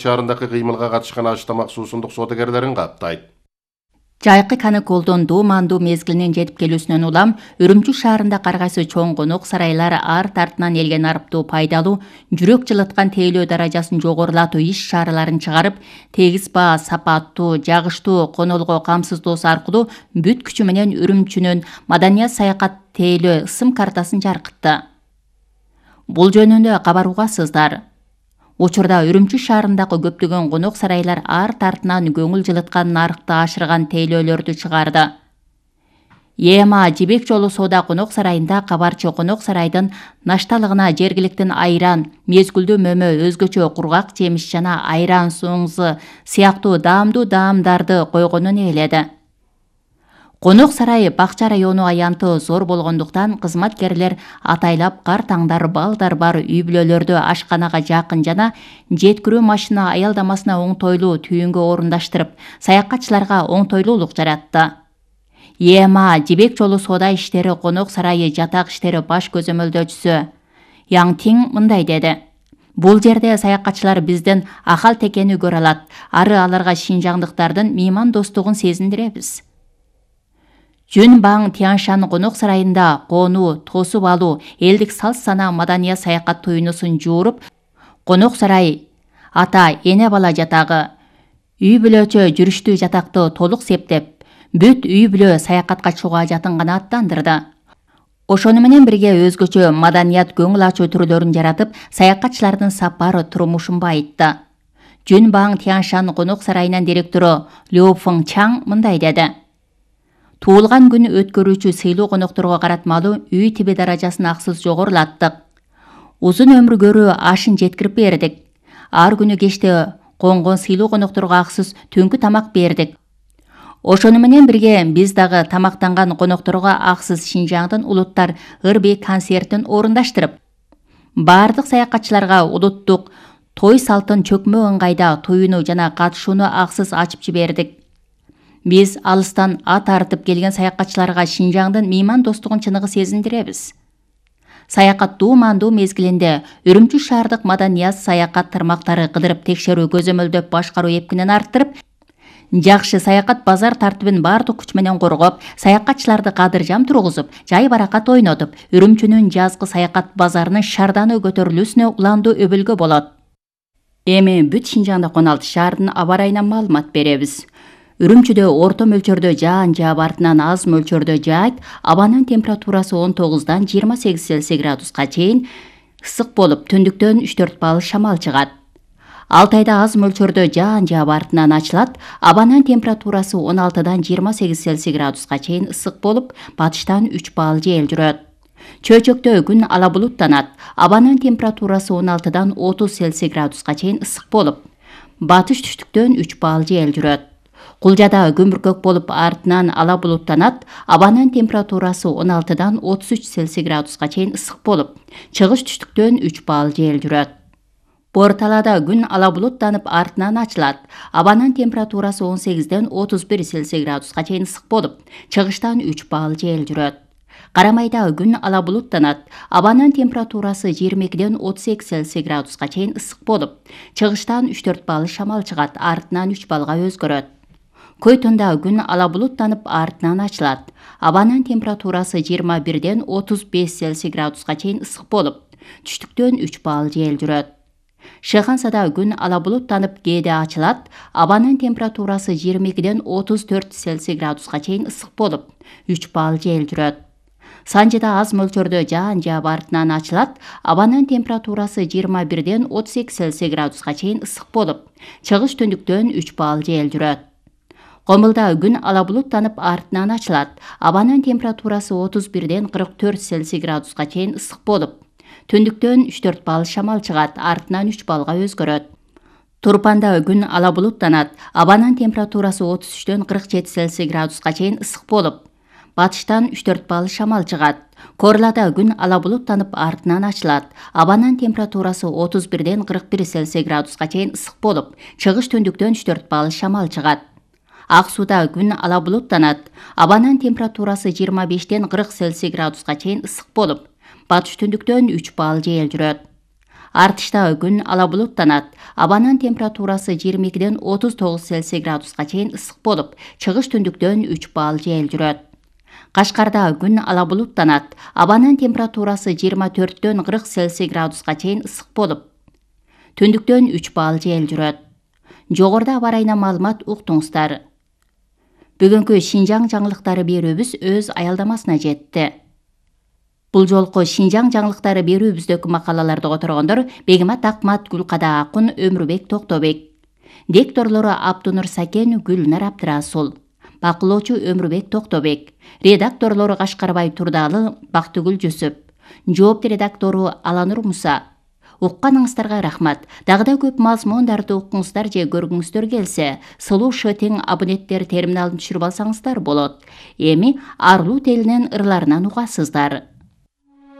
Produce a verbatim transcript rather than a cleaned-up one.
шаарындагы кыймылга катышкан Аш-Тамак суусундук соодагерлерин каттайт. Жайкы каныколдун дуумандуу мезгилинин жетип келүүсүнөн улам Үрүмчү шаарында каргайсы чоң конок сарайлар арт артынан элген арыптуу пайдалуу, жүрөк жылыткан тейлөө даражасын жогорулатуу иш-чараларын чыгарып, тегиз баа, сапаттуу, жагыштуу конолго камсыздоосу аркылуу бүт күчү менен Үрүмчүнүн маданият саякат тейлөө ысым картасын жаркытты. Бул жөнүндө кабар угасыздар. Учурда Үрүмчү шаарындагы көптөгөн конок сарайлар арт артынан көңүл жылыткан нарыкты ашырган тейлөөлөрдү чыгарды. Ема Жибек жолу соода конок сарайында кабарчы конок сарайдын нашталыгына жергиликтин айран, мезгүлдүү мөмө, өзгөчө кургак жемиш жана айран соңзы сыяктуу даамдуу даамдарды койгонун ээледи. Конок сарай бакча району аянты зор болгондуктан кызматкерлер атайлап кар таңдар, балдар бар үй бүлөлөрдү ашканага жакын жана жеткирүү машина аялдамасына оңтойлуу түйүнгө орундаштырып, саякатчыларга оңтойлуулук жаратты. Ема Жибек жолу соода иштери конок сарайы жатак иштери баш көзөмөлдөөчүсү Яң Тиң мындай деди: Бул жерде саякатчылар биздин акал текени көрө алат, ары аларга шинжаңдыктардын мейман достугун сезиндиребиз. Жүн Баң Тяншан конок сарайында конуу, тосуп алуу, элдик салт-сана маданият саякат туйнусун жууруп, конок сарай, ата, эне бала жатагы, үй бүлөчө жүрүштүү жатакты толук септеп, бүт үй бүлө саякатка чыгуу ажатын гана аттандырды. Ошону менен бирге өзгөчө маданият көңүл ачуу түрлөрүн жаратып, саякатчылардын сапар турмушун байытты. Жүн Баң Тяншан конок сарайынын директору Лю Фeng Чаң мындай деди: Туулган күн өткөрүүчү сыйлуу конокторго каратмалуу үй тиби даражасын аксыз жогорулаттык. Узун өмүр көрүү ашын жеткирип бердик. Ар күнү кечте конгон сыйлуу конокторго аксыз түнкү тамак бердик. Ошону менен бирге биз дагы тамактанган конокторго аксыз Шинжаңдын улуттар ыр-бий концертин орундаштырып, баардык саякатчыларга улуттук той салтын чөкмө ыңгайда туюну жана катышууну аксыз ачып жибердик. Биз алыстан ат артып келген саякатчыларга Шинжаңдын мейман достугун чыныгы сезиндиребиз. Саякат дуумандуу мезгилинде Үрүмчү шаардык маданият саякат тармактары кыдырып текшерүү көзөмөлдөп башкаруу эпкинин арттырып, жакшы саякат базар тартибин баардык күч менен коргоп, саякатчыларды кадыржам тургузуп, жай баракат ойнотуп, Үрүмчүнүн жазгы саякат базарынын шарданы көтөрүлүүсүнө уландуу өбөлгө болот. Эми бүт Шинжаңда он алты шаардын аба ырайынан маалымат беребиз. Үрүмчүдө орто мөлчөрдө жаан жаап артынан аз мөлчөрдө жаайт, абанын температурасы он тогуздан жыйырма сегиз Цельсий градуска чейин ысык болуп, түндүктөн үч төрт балл шамал чыгат. Алтайда аз мөлчөрдө жаан жаап артынан ачылат, абанын температурасы он алтыдан жыйырма сегиз Цельсий градуска чейин ысык болуп, батыштан үч балл жел жүрөт. Чөйчөктө күн ала булуттанат, абанын температурасы он алтыдан отуз Цельсий градуска чейин ысык болуп, батыш түштүктөн үч балл жел жүрөт. Кулжада күн бүркөк болуп, артынан ала булуттанат, абанын температурасы он алтыдан отуз үч Цельсий градуска чейин ысык болуп, чыгыш түштүктөн үч балл жел жүрөт. Борталада күн ала булуттанып, артынан ачылат, абанын температурасы он сегизден отуз бир Цельсий градуска чейин ысык болуп, чыгыштан үч балл жел жүрөт. Карамайда күн ала булуттанат, абанын температурасы жыйырма экиден отуз эки Цельсий градуска чейин ысык болуп, чыгыштан үч төрт балл шамал чыгат, артынан үч баллга өзгөрөт. Көйтөндө күн ала булуттанып, артынан ачылат, абанын температурасы жыйырма бирден отуз беш Цельсий градуска чейин ысык болуп, түштүктөн үч балл жел жүрөт. Шыхансада күн ала булуттанып, кээде ачылат, абанын температурасы жыйырма экиден отуз төрт Цельсий градуска чейин ысык болуп, үч балл жел жүрөт. Санжыда аз мөлчөрдө жаан жаап артынан ачылат, абанын температурасы жыйырма бирден отуз эки Цельсий градуска чейин ысык болуп, чыгыш түндүктөн үч балл жел жүрөт. Комулда күн ала булуттанып, артынан ачылат, абанын температурасы отуз бирден кырк төрт Цельсий градуска чейин ысык болуп, түндүктөн үч төрт балл шамал чыгат, артынан үч баллга өзгөрөт. Турпанда күн ала булуттанат, абанын температурасы отуз үчтөн кырк жети Цельсий градуска чейин ысык болуп, батыштан үч төрт балл шамал чыгат. Корлада күн ала булуттанып, артынан ачылат, абанын температурасы отуз бирден кырк бир Цельсий градуска чейин ысык болуп, чыгыш түндүктөн үч төрт балл шамал чыгат. Ак сууда күн ала булуттанат, абанын температурасы жыйырма бештен кырк Цельсий градуска чейин ысык болуп, батыш түндүктөн үч балл жел жүрөт. Артыштагы күн ала булуттанат. Абанын температурасы жыйырма экиден отуз тогуз Цельсий градуска чейин ысык болуп, чыгыш түндүктөн үч балл жел жүрөт. Кашкардагы күн ала булуттанат. Абанын температурасы жыйырма төрттөн кырк Цельсий градуска чейин ысык болуп, түндүктөн үч балл жел жүрөт. Жогоруда аба ырайына маалымат уктуңуздар. Бүгүнкү Шинжаң жаңылыктары берүүбүз өз аялдамасына жетти. Бул жолку Шинжаң жаңылыктары берүүбүздөгү макалаларды которгондор Бегимат Акмат, Гүлкада Акун, Өмүрбек Токтобек. Дикторлору Абдунур Сакен, Гүлнар Абдырасул. Бакылоочу Өмүрбек Токтобек. Редакторлору Кашкарбай Турдалы, Бактыгүл Жүсүп. Жоопту редактору Аланур Муса. Укканыңыздарга рахмат. Дагы да көп мазмундарды укуңуздар же көргүңүздөр келсе, Слушай тең абоненттер терминалын түшүрүп алсаңыздар болот. Эми Арлуу телинен ырларынан угасыздар.